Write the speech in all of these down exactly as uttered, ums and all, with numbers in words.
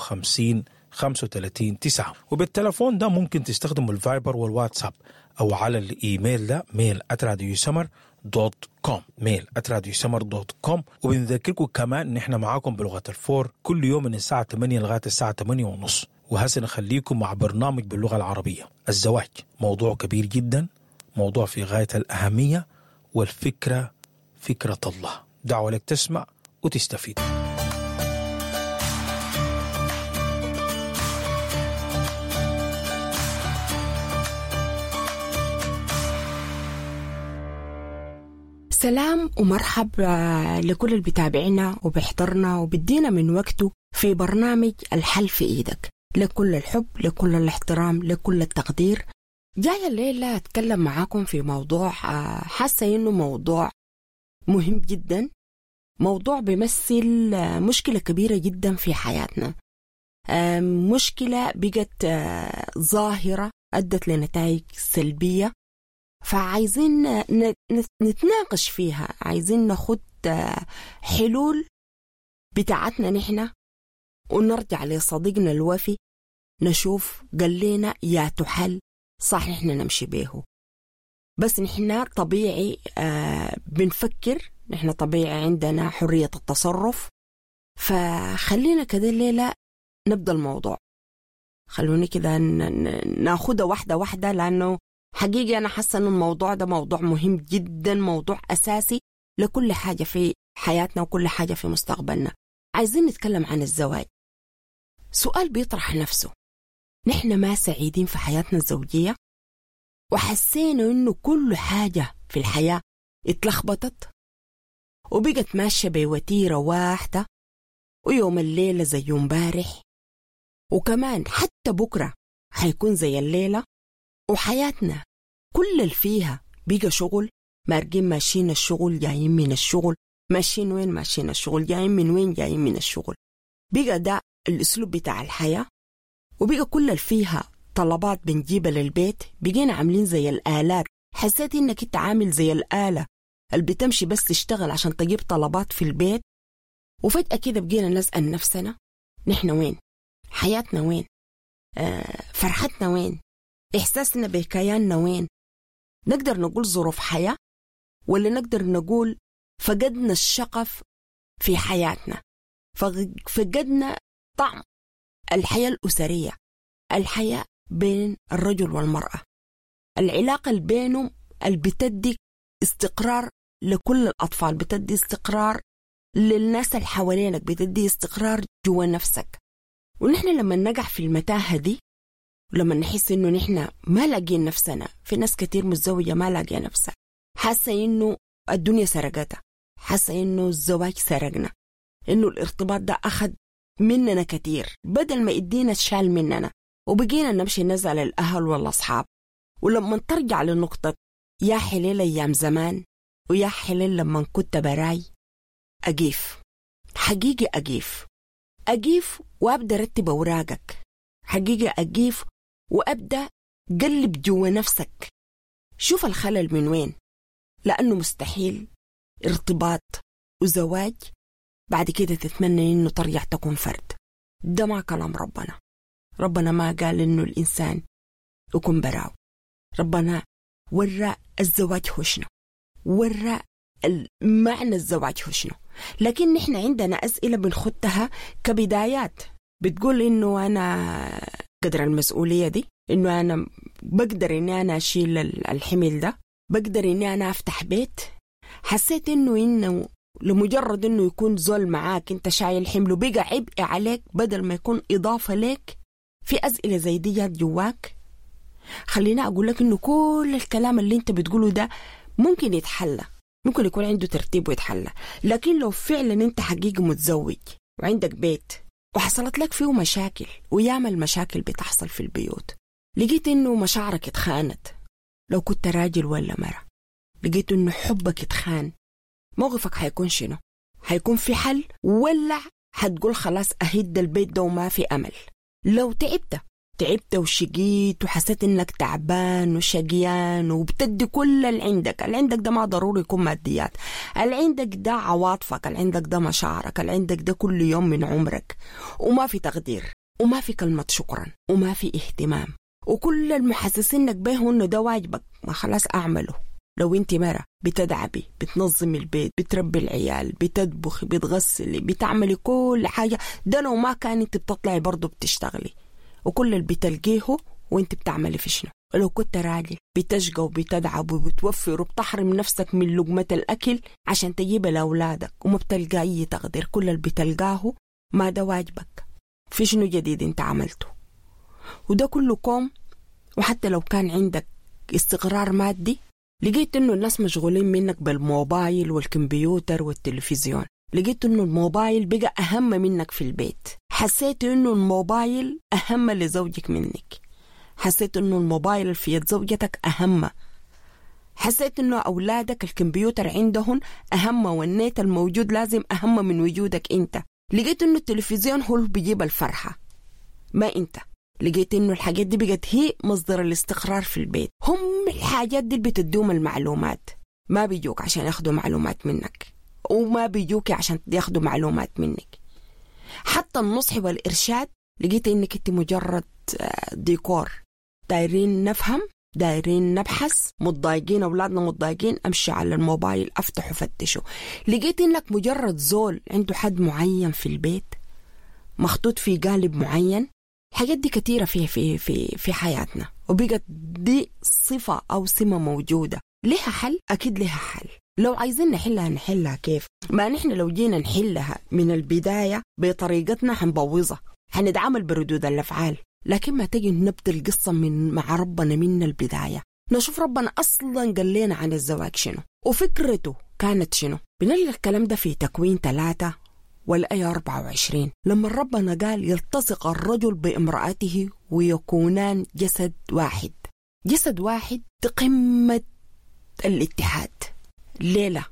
خمسين خمسة وتلاتين تسعة. وبالتلفون ده ممكن تستخدموا الفايبر والواتساب أو على الإيميل ده mail at راديو سمر dot com، mail at راديو سمر dot com. وبنذكركم كمان إن إحنا معاكم بلغة الفور كل يوم من الساعة تمانية لغاية الساعة تمانية ونص. وهسه نخليكم مع برنامج باللغة العربية. الزواج موضوع كبير جدا، موضوع في غاية الأهمية، والفكرة فكرة الله. دعوة لك تسمع وتستفيد. سلام ومرحب لكل اللي بتابعنا وبيحضرنا وبدينا من وقته في برنامج الحل في إيدك. لكل الحب، لكل الاحترام، لكل التقدير. جاية الليلة أتكلم معاكم في موضوع حاسة إنه موضوع مهم جدا، موضوع بيمثل مشكلة كبيرة جدا في حياتنا، مشكلة بقت ظاهرة أدت لنتائج سلبية، فعايزين نتناقش فيها، عايزين ناخد حلول بتاعتنا نحن ونرجع لصديقنا الوفي نشوف قال لنا يا تحل صح نحن نمشي بيه. بس نحن طبيعي بنفكر، نحن طبيعي عندنا حرية التصرف، فخلينا كده الليلة نبدأ الموضوع. خلوني كده ناخدها واحدة واحدة، لأنه حقيقي أنا حاسة إنه الموضوع ده موضوع مهم جدا، موضوع أساسي لكل حاجة في حياتنا وكل حاجة في مستقبلنا. عايزين نتكلم عن الزواج. سؤال بيطرح نفسه، نحن ما سعيدين في حياتنا الزوجية وحسينا إنه كل حاجة في الحياة اتلخبطت وبقت ماشية بوتيرة واحدة، ويوم الليلة زي يوم بارح، وكمان حتى بكرة حيكون زي الليلة، وحياتنا كل اللي فيها بقى شغل، مارقين ماشيين الشغل جايين من الشغل، ماشيين وين ماشيين الشغل، جايين من وين جايين من الشغل. بقى ده الأسلوب بتاع الحياة، وبقى كل اللي فيها طلبات بنجيبها للبيت، بقينا عاملين زي الآلات. حسيت إنك انت عامل زي الآلة اللي بتمشي بس تشتغل عشان تجيب طلبات في البيت. وفجأة كده بقينا نسأل نفسنا نحن وين؟ حياتنا وين؟ آه، فرحتنا وين؟ إحساسنا بكياننا وين؟ نقدر نقول ظروف حياة، ولا نقدر نقول فقدنا الشغف في حياتنا، فقدنا طعم الحياة الأسرية، الحياة بين الرجل والمرأة، العلاقة اللي بينهم اللي بتدي استقرار لكل الأطفال، بتدي استقرار للناس اللي حوالينك، بتدي استقرار جوا نفسك. ونحن لما نقع في المتاهة دي، ولما نحس إنه نحن ما لاقين نفسنا، في ناس كتير متزوجة ما لاقية نفسها، حاسة إنه الدنيا سرقتها، حاسة إنه الزواج سرقنا، إنه الارتباط ده أخذ مننا كتير، بدل ما يدينا شال مننا، وبقينا نمشي نزل الأهل والأصحاب. ولما ترجع لنقطة يا حليل أيام زمان ويا حليل لما كنت براي، أقيف حقيقي، أقيف أقيف وأبدأ رتب أوراقك، حقيقي أقيف وأبدأ قلب جوا نفسك، شوف الخلل من وين، لأنه مستحيل ارتباط وزواج بعد كده تتمنى إنه ترجع تكون فرد. ده ما كلام ربنا. ربنا ما قال إنه الإنسان يكون براو. ربنا ورى الزواج هو شنو، ورى معنى الزواج هو شنو. لكن نحن عندنا أسئلة بنخدها كبدايات، بتقول إنه أنا قدر المسؤولية دي، إنه أنا بقدر إني أنا أشيل الحمل ده، بقدر إني أنا أفتح بيت. حسيت إنه إنه لمجرد إنه يكون زول معاك أنت شايل حمله بقى عبء عليك بدل ما يكون إضافة لك. في أسئلة زي دي جات جواك. خلينا أقول لك إنه كل الكلام اللي أنت بتقوله ده ممكن يتحلى، ممكن يكون عنده ترتيب ويتحلى. لكن لو فعلا أنت حقيقي متزوج وعندك بيت وحصلت لك فيه مشاكل، وياما المشاكل بتحصل في البيوت، لقيت إنه مشاعرك اتخانت لو كنت راجل ولا مرة، لقيت إنه حبك اتخان، موقفك حيكون شنو؟ حيكون في حل ولا حتقول خلاص أهد البيت ده وما في أمل؟ لو تعبت تعبت وشقيت وحسيت انك تعبان وشقيان وبتدي كل اللي عندك. اللي عندك ده ما ضروري يكون ماديات، اللي عندك ده عواطفك، اللي عندك ده مشاعرك، اللي عندك ده كل يوم من عمرك، وما في تقدير وما في كلمة شكرا وما في اهتمام، وكل المحسسينك به انه ده واجبك، ما خلاص اعمله. لو انت مرة بتدعبي، بتنظمي البيت، بتربي العيال، بتطبخي، بتغسلي، بتعملي كل حاجة، ده لو ما كان انت بتطلعي برضو بتشتغلي، وكل اللي بتلقيه وانت بتعملي في شنو. لو كنت راجل بتشقى وبتدعب وبتوفر وبتحرم نفسك من لقمة الأكل عشان تجيب لأولادك وما بتلقى أي تقدير، كل اللي بتلقاه ما ده واجبك، في شنو جديد انت عملته؟ وده كله كوم. وحتى لو كان عندك استقرار مادي، لقيت انه الناس مشغولين منك بالموبايل والكمبيوتر والتلفزيون، لقيت انه الموبايل بقى اهم منك في البيت، حسيت انه الموبايل اهم لزوجك منك، حسيت انه الموبايل في يد زوجتك اهم، حسيت انه اولادك الكمبيوتر عندهم اهم والنت الموجود لازم اهم من وجودك انت، لقيت انه التلفزيون هو اللي بيجيب الفرحة ما انت، لقيت انه الحاجات دي بقت هي مصدر الاستقرار في البيت. هم الحاجات دي اللي بتدوم المعلومات، ما بيجوك عشان ياخدوا معلومات منك، وما بيجوك عشان ياخدوا معلومات منك. حتى النصح والإرشاد لقيت انك انت مجرد ديكور، دايرين نفهم، دايرين نبحث، متضايقين اولادنا متضايقين، امشي على الموبايل افتح وفتشه. لقيت انك مجرد زول عنده حد معين في البيت، مخطوط في قالب معين. الحاجات دي كثيرة في في في في حياتنا، وبقت دي صفة أو سمة موجودة. لها حل؟ أكيد لها حل. لو عايزين نحلها نحلها كيف؟ ما نحن لو جينا نحلها من البداية بطريقتنا حنبوظها، حنتعامل بردود الأفعال. لكن ما تجي نبدأ القصة من مع ربنا من البداية، نشوف ربنا أصلا قال لنا عن الزواج شنو وفكرته كانت شنو. بنلقى الكلام ده في تكوين ثلاثة والآية أربعة وعشرين، لما ربنا قال يلتصق الرجل بامرأته ويكونان جسد واحد. جسد واحد قمة الاتحاد. ليلة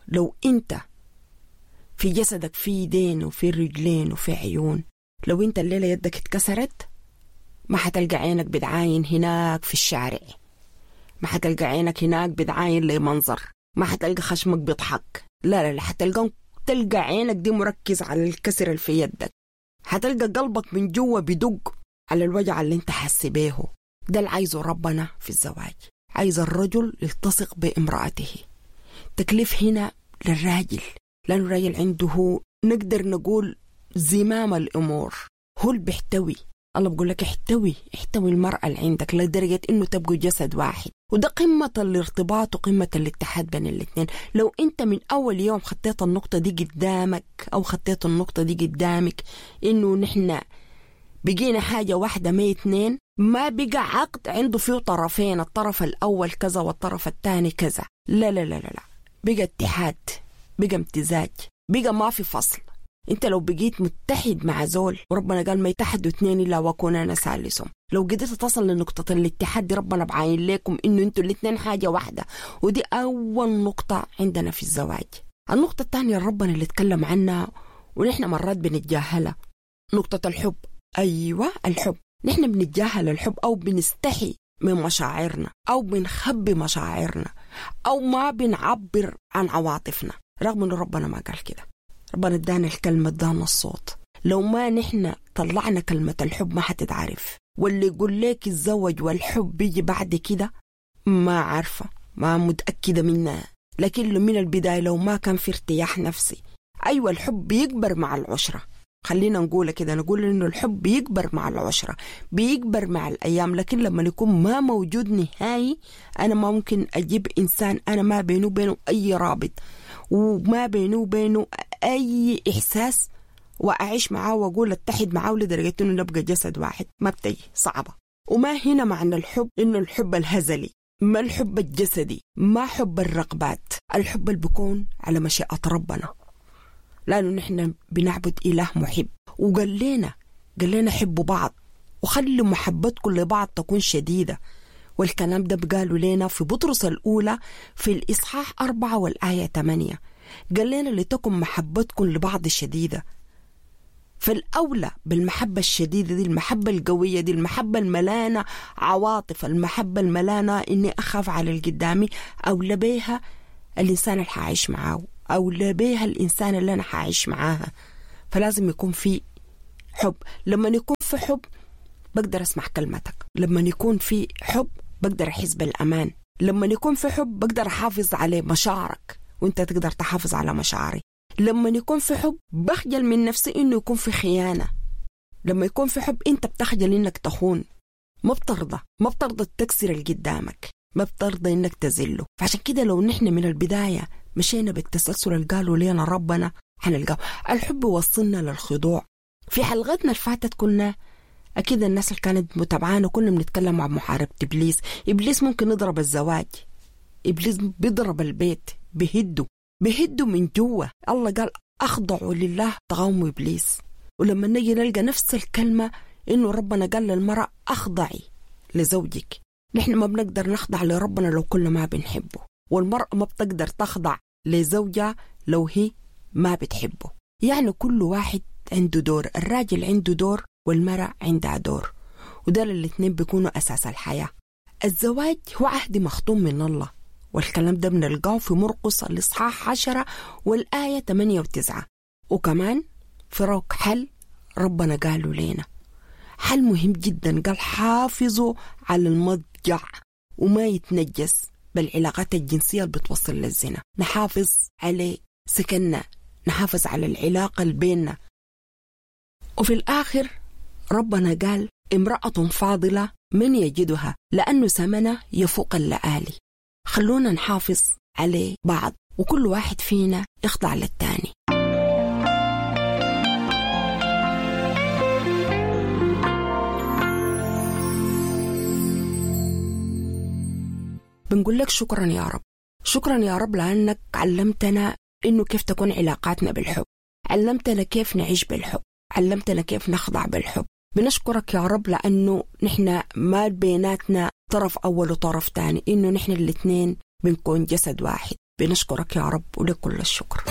لو أنت في جسدك في يدين وفي رجلين وفي عيون، لو أنت الليلة يدك اتكسرت ما حتلقى عينك بتعاين هناك في الشارع، ما حتلقى عينك هناك بتعاين لمنظر، ما حتلقى خشمك بيضحك، لا لا لا، حتلقى تلقى عينك دي مركز على الكسر اللي في يدك، حتلقى قلبك من جوا بدق على الوجع اللي انت حاسس بيه. ده اللي عايزه ربنا في الزواج، عايز الرجل يلتصق بامرأته. تكليف هنا للراجل، لأنه الراجل عنده نقدر نقول زمام الأمور، هو اللي بيحتوي. الله بيقول لك احتوي، احتوي المرأة اللي عندك لدرجة انه تبقوا جسد واحد. وده قمة الارتباط وقمة الاتحاد بين الاثنين. لو انت من اول يوم خطيت النقطة دي قدامك او خطيت النقطة دي قدامك انه نحن بقينا حاجة واحدة ما اثنين، ما بقى عقد عنده فيه طرفين، الطرف الاول كذا والطرف الثاني كذا، لا لا لا لا لا، بقى اتحاد، بقى امتزاج، بقى ما في فصل. انت لو بقيت متحد مع زول، وربنا قال ما يتحدوا اثنين الا واكون انا ثالثهم، لو قدرت تصل لنقطة الاتحاد دي ربنا بعاين لكم انه انتوا الاثنين حاجة واحدة. ودي اول نقطة عندنا في الزواج. النقطة الثانية ربنا اللي اتكلم عنها ونحن مرات بنتجاهلها، نقطة الحب. ايوه الحب، نحن بنتجاهل الحب او بنستحي من مشاعرنا او بنخبي مشاعرنا او ما بنعبر عن عواطفنا، رغم انه ربنا ما قال كده. ربنا ادانا الكلمة، ادانا الصوت. لو ما نحن طلعنا كلمة الحب ما حتتعرف. واللي يقول لك الزوج والحب بيجي بعد كده ما عارفة، ما متأكدة منها، لكن من البداية لو ما كان في ارتياح نفسي. أيوة الحب بيكبر مع العشرة، خلينا نقول كده، نقول إنه الحب بيكبر مع العشرة، بيكبر مع الأيام. لكن لما يكون ما موجود نهائي، أنا ما ممكن أجيب إنسان أنا ما بينه وبينه أي رابط وما بينه وبينه أي إحساس وأعيش معاه وأقول أتحد معاه لدرجة إنه نبقى جسد واحد، ما بتجي، صعبة. وما هنا معنى الحب إنه الحب الهزلي، ما الحب الجسدي، ما حب الرغبات، الحب اللي بيكون على مشيئة ربنا، لأنه نحن بنعبد إله محب. وقال لنا قال لنا حبوا بعض وخلوا محبتكم لبعض تكون شديدة. والكلام ده بقالوا لنا في بطرس الأولى في الإصحاح أربعة والآية ثمانية، قال لنا لتكن محبتكم لبعض شديدة. فالأولى بالمحبة الشديدة دي، المحبة القوية دي، المحبة الملانة عواطف، المحبة الملانة إني أخاف على القدامي، أولى بيها الإنسان اللي حعيش معاه، أولى بيها الإنسان اللي أنا حعيش معاها. فلازم يكون في حب. لما يكون في حب بقدر أسمع كلمتك، لما يكون في حب بقدر أحس بالأمان، لما يكون في حب بقدر أحافظ على مشاعرك وانت تقدر تحافظ على مشاعري. لما يكون في حب بخجل من نفسي إنه يكون في خيانة. لما يكون في حب انت بتخجل إنك تخون، ما بترضى، ما بترضى تكسر اللي قدامك، ما بترضى إنك تزله. فعشان كده لو نحن من البداية مشينا بالتسلسل اللي قالوا لنا ربنا حنلقاه. الحب وصلنا للخضوع. في حلقتنا اللي فاتت كنا أكيد الناس اللي كانت متابعانا كنا بنتكلم عن محاربة إبليس. إبليس ممكن يضرب الزواج، إبليس بيضرب البيت، بهده بهده من جوا. الله قال أخضعوا لله تقاوموا إبليس. ولما نجي نلقى نفس الكلمة إنه ربنا قال للمرأة أخضعي لزوجك. نحن ما بنقدر نخضع لربنا لو كنا ما بنحبه، والمرأة ما بتقدر تخضع لزوجها لو هي ما بتحبه. يعني كل واحد عنده دور، الراجل عنده دور والمرأة عندها دور، وده الاثنين بيكونوا أساس الحياة. الزواج هو عهد مختوم من الله، والكلام ده بنلقاه في مرقس الإصحاح عشرة والآية ثمانية وتسعة. وكمان في روك حل ربنا قالوا لنا حل مهم جدا، قال حافظوا على المضجع وما يتنجس بالعلاقات الجنسية اللي بتوصل للزنا. نحافظ على سكننا، نحافظ على العلاقة اللي بيننا. وفي الآخر ربنا قال امرأة فاضلة من يجدها لأنه ثمنها يفوق اللآلي. خلونا نحافظ على بعض، وكل واحد فينا يخضع للتاني. بنقول لك شكرا يا رب، شكرا يا رب لأنك علمتنا إنه كيف تكون علاقاتنا بالحب، علمتنا كيف نعيش بالحب، علمتنا كيف نخضع بالحب. بنشكرك يا رب لأنه نحن ما بيناتنا طرف أول وطرف تاني، إنه نحن الاثنين بنكون جسد واحد. بنشكرك يا رب ولك كل الشكر.